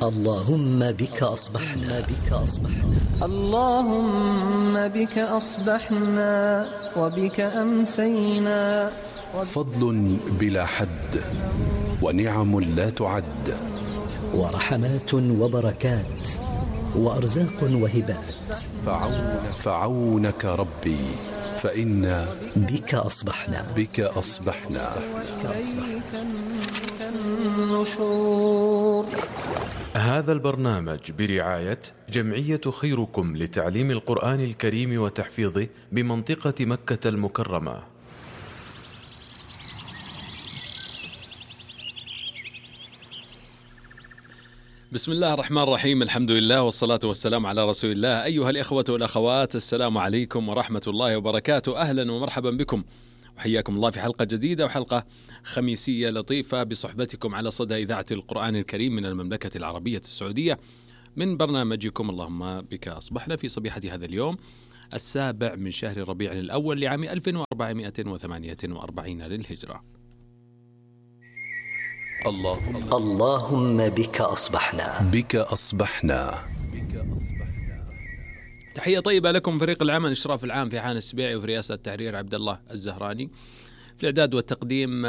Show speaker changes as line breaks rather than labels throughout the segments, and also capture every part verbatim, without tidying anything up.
اللهم بك أصبحنا بك أصبحنا
اللهم بك أصبحنا وبك أمسينا.
فضل بلا حد ونعم لا تعد،
ورحمات وبركات وأرزاق وهبات.
فعونك, فعونك ربي فإنا
بك أصبحنا
بك أصبحنا, بك أصبحنا.
هذا البرنامج برعاية جمعية خيركم لتعليم القرآن الكريم وتحفيظه بمنطقة مكة المكرمة.
بسم الله الرحمن الرحيم، الحمد لله والصلاة والسلام على رسول الله. أيها الإخوة والأخوات، السلام عليكم ورحمة الله وبركاته. أهلا ومرحبا بكم وحياكم الله في حلقة جديدة وحلقة خميسية لطيفة بصحبتكم على صدى إذاعة القرآن الكريم من المملكة العربية السعودية، من برنامجكم اللهم بك أصبحنا في صبيحة هذا اليوم السابع من شهر ربيع الأول لعام ألف وأربعمائة وثمانية وأربعين للهجرة.
اللهم,
اللهم بك أصبحنا
بك أصبحنا.
تحية طيبة لكم فريق العمل، إشراف العام في حان السبيعي وفي رئاسة التحرير عبد الله الزهراني، في الإعداد والتقديم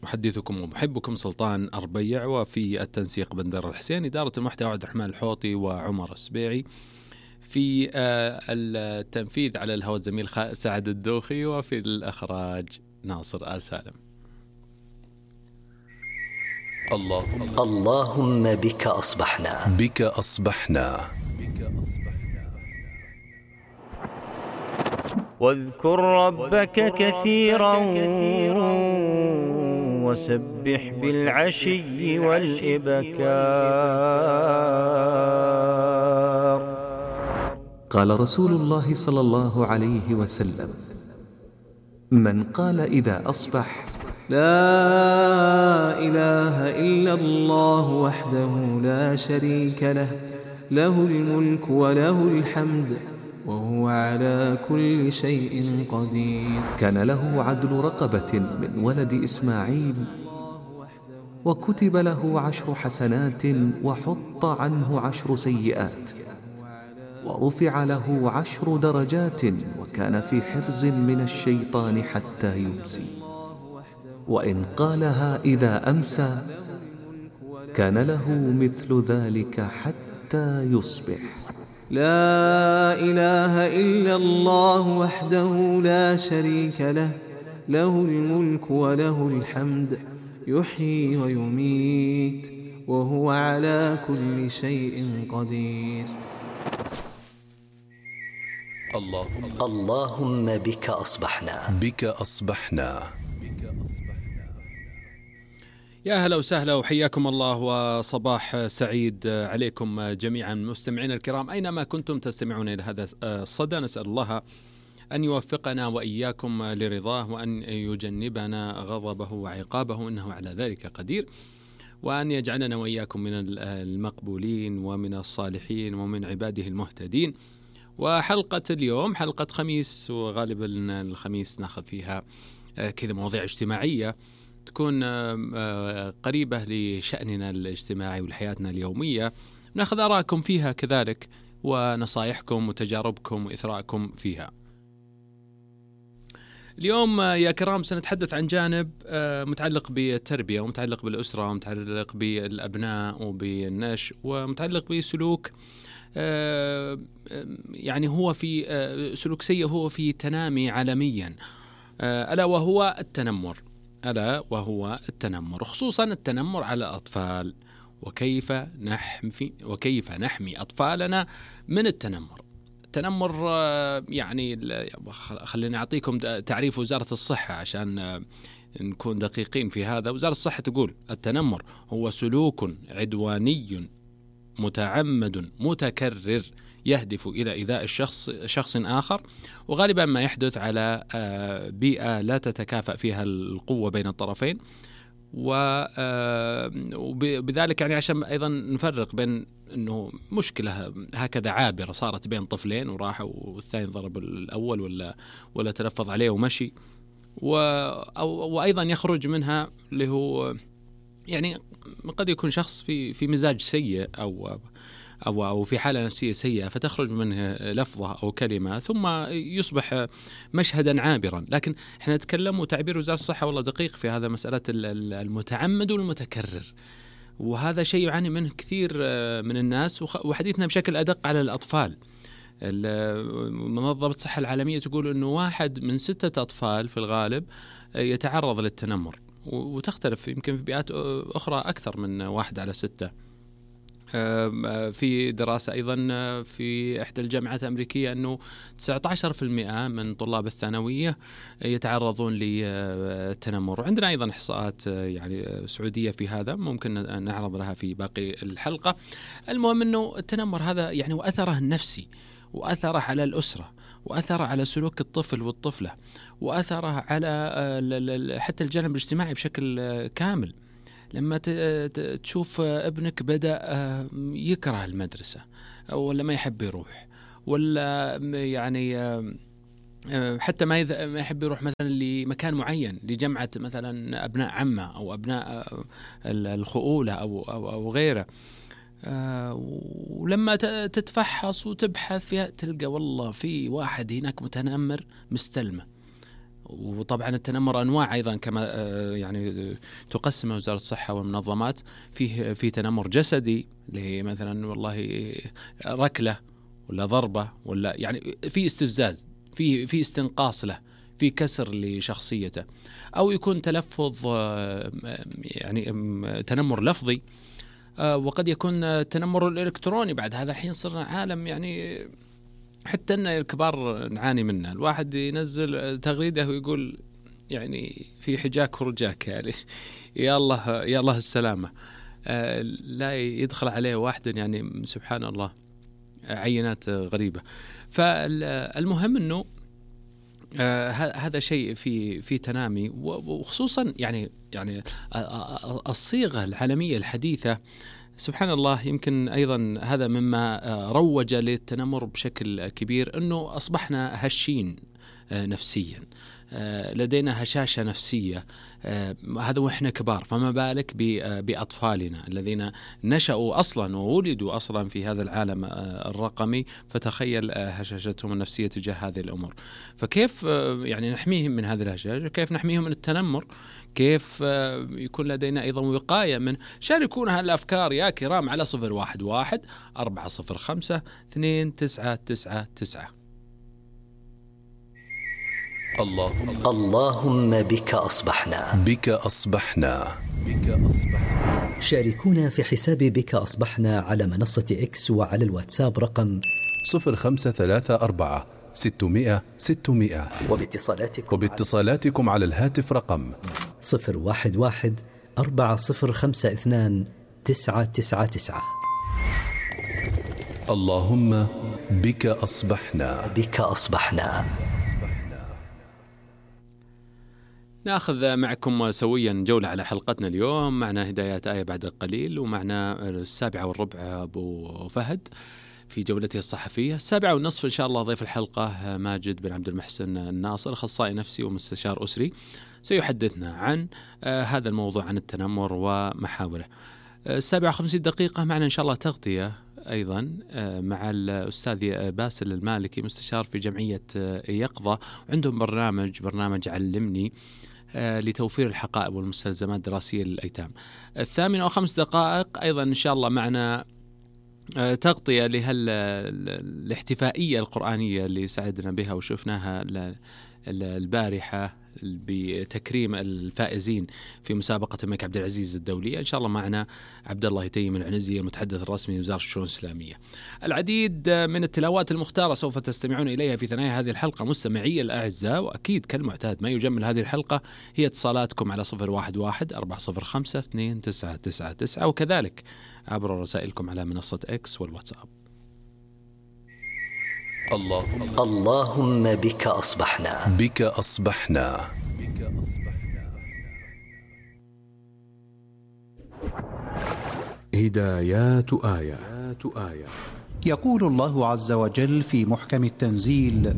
محدثكم ومحبكم سلطان أربيع، وفي التنسيق بندر الحسين، إدارة المحتوى عبد الرحمن الحوطي وعمر السبيعي، في التنفيذ على الهواء الزميل سعد الدوخي، وفي الإخراج ناصر آل سالم.
اللهم,
اللهم بك أصبحنا
بك أصبحنا.
واذكر ربك كثيرا وسبح بالعشي والإبكار.
قال رسول الله صلى الله عليه وسلم: من قال إذا أصبح:
لا إله إلا الله وحده لا شريك له، له الملك وله الحمد وهو على كل شيء قدير،
كان له عدل رقبة من ولد إسماعيل، وكتب له عشر حسنات وحط عنه عشر سيئات، ورفع له عشر درجات، وكان في حرز من الشيطان حتى يمسي. وإن قالها إذا أمسى كان له مثل ذلك حتى يصبح.
لا إله إلا الله وحده لا شريك له، له الملك وله الحمد يحيي ويميت وهو على كل شيء قدير.
اللهم,
اللهم بك أصبحنا
بك أصبحنا.
يا هلا وسهلا وحياكم الله وصباح سعيد عليكم جميعا مستمعينا الكرام أينما كنتم تستمعون إلى هذا الصدى. نسأل الله أن يوفقنا وإياكم لرضاه، وأن يجنبنا غضبه وعقابه إنه على ذلك قدير، وأن يجعلنا وإياكم من المقبولين ومن الصالحين ومن عباده المهتدين. وحلقة اليوم حلقة خميس، وغالبا الخميس ناخذ فيها كذا مواضيع اجتماعية تكون قريبة لشأننا الاجتماعي ولحياتنا اليومية، نأخذ آراءكم فيها كذلك، ونصائحكم وتجاربكم وإثراءكم فيها. اليوم يا كرام سنتحدث عن جانب متعلق بالتربية، ومتعلق بالأسرة، ومتعلق بالأبناء وبالنشء، ومتعلق بسلوك يعني هو في سلوك سيء هو في تنامي عالميا، ألا وهو التنمر ألا وهو التنمر، خصوصا التنمر على الأطفال، وكيف نحمي وكيف نحمي أطفالنا من التنمر. التنمر يعني خليني أعطيكم تعريف وزارة الصحة عشان نكون دقيقين في هذا. وزارة الصحة تقول: التنمر هو سلوك عدواني متعمد متكرر يهدف إلى إيذاء الشخص شخص آخر، وغالبا ما يحدث على بيئة لا تتكافأ فيها القوة بين الطرفين، وبذلك يعني عشان أيضا نفرق بين أنه مشكلة هكذا عابرة صارت بين طفلين وراحوا والثاني ضرب الأول ولا ولا تلفظ عليه ومشي، وأيضا يخرج منها اللي هو يعني قد يكون شخص في في مزاج سيء أو أو أو في حالة نفسية سيئة، فتخرج منه لفظة أو كلمة ثم يصبح مشهدا عابرا. لكن احنا نتكلم، وتعبير وزارة الصحة والله دقيق في هذا، مسألة المتعمد والمتكرر، وهذا شيء يعاني منه كثير من الناس. وحديثنا بشكل أدق على الأطفال. منظمة الصحة العالمية تقول أنه واحد من ستة أطفال في الغالب يتعرض للتنمر، وتختلف يمكن في بيئات أخرى أكثر من واحد على ستة. في دراسة أيضا في إحدى الجامعات الأمريكية أنه تسعة عشر بالمئة من طلاب الثانوية يتعرضون للتنمر. وعندنا أيضا إحصاءات يعني سعودية في هذا، ممكن نعرض لها في باقي الحلقة. المهم أنه التنمر هذا يعني وأثره النفسي، وأثره على الأسرة، وأثره على سلوك الطفل والطفلة، وأثره على حتى الجانب الاجتماعي بشكل كامل. لما تشوف ابنك بدأ يكره المدرسة، ولا ما يحب يروح، ولا يعني حتى ما يحب يروح مثلا لمكان معين، لجمعة مثلا أبناء عمة أو أبناء الخؤولة أو أو أو غيره، ولما تتفحص وتبحث فيها تلقى والله في واحد هناك متنمر مستلمه. وطبعا التنمر أنواع أيضا كما يعني تقسم وزارة الصحة والمنظمات. فيه في تنمر جسدي، اللي هي مثلا والله ركلة ولا ضربة، ولا يعني في استفزاز، في في استنقاص له، في كسر لشخصيته، أو يكون تلفظ يعني تنمر لفظي، وقد يكون تنمر الإلكتروني. بعد هذا الحين صرنا عالم يعني حتى أن الكبار نعاني منه. الواحد ينزل تغريدة ويقول يعني في حجاك ورجاك، يعني يا الله يا الله السلامة. آه لا يدخل عليه واحد يعني سبحان الله عينات غريبة. فالمهم أنه آه هذا شيء في في تنامي، وخصوصا يعني يعني الصيغة العالمية الحديثة سبحان الله. يمكن أيضا هذا مما روج للتنمر بشكل كبير، أنه أصبحنا هشين نفسيا، لدينا هشاشة نفسية، هذا وإحنا كبار، فما بالك بأطفالنا الذين نشأوا أصلا وولدوا أصلا في هذا العالم الرقمي، فتخيل هشاشتهم النفسية تجاه هذه الأمور. فكيف يعني نحميهم من هذه الهشاشة؟ كيف نحميهم من التنمر؟ كيف يكون لدينا أيضا وقاية من؟ شاركونا هالأفكار يا كرام على صفر واحد واحد أربعة صفر خمسة اثنين تسعة تسعة تسعة.
اللهم
اللهم بك أصبحنا
بك أصبحنا بك أصبحنا.
شاركونا في حساب بك أصبحنا على منصة إكس وعلى الواتساب رقم
صفر خمسة ثلاثة أربعة ستمائة ستمائة،
وباتصالاتكم
وباتصالاتكم على الهاتف رقم
صفر واحد واحد أربعة صفر خمسة اثنان تسعة تسعة تسعة.
اللهم بك أصبحنا
بك أصبحنا.
نأخذ معكم سويا جولة على حلقتنا اليوم. معنا هدايات آية بعد قليل، ومعنا السابعة والربع أبو فهد في جولته الصحفية. السابعة والنصف إن شاء الله ضيف الحلقة ماجد بن عبد المحسن الناصر، أخصائي نفسي ومستشار أسري، سيحدثنا عن هذا الموضوع، عن التنمر ومحاوله. السابعة خمسين دقيقة معنا إن شاء الله تغطية أيضا مع الأستاذ باسل المالكي، مستشار في جمعية يقظة، وعندهم برنامج برنامج علمني لتوفير الحقائب والمستلزمات الدراسية للأيتام. الثامنة وخمس دقائق أيضا إن شاء الله معنا تغطية لهالاحتفائية القرآنية اللي سعدنا بها وشفناها البارحة بتكريم الفائزين في مسابقة الملك عبد العزيز الدولية. إن شاء الله معنا عبد الله يتيم العنزي المتحدث الرسمي لوزارة الشؤون الإسلامية. العديد من التلاوات المختارة سوف تستمعون إليها في ثنايا هذه الحلقة مستمعي الأعزاء، وأكيد كالمعتاد ما يجمل هذه الحلقة هي اتصالاتكم على صفر واحد واحد أربعة صفر خمسة اثنين تسعة تسعة تسعة، وكذلك عبر رسائلكم على منصة إكس والواتساب.
اللهم
اللهم بك أصبحنا
بك أصبحنا بك أصبحنا.
هدايات آية. آية
يقول الله عز وجل في محكم التنزيل: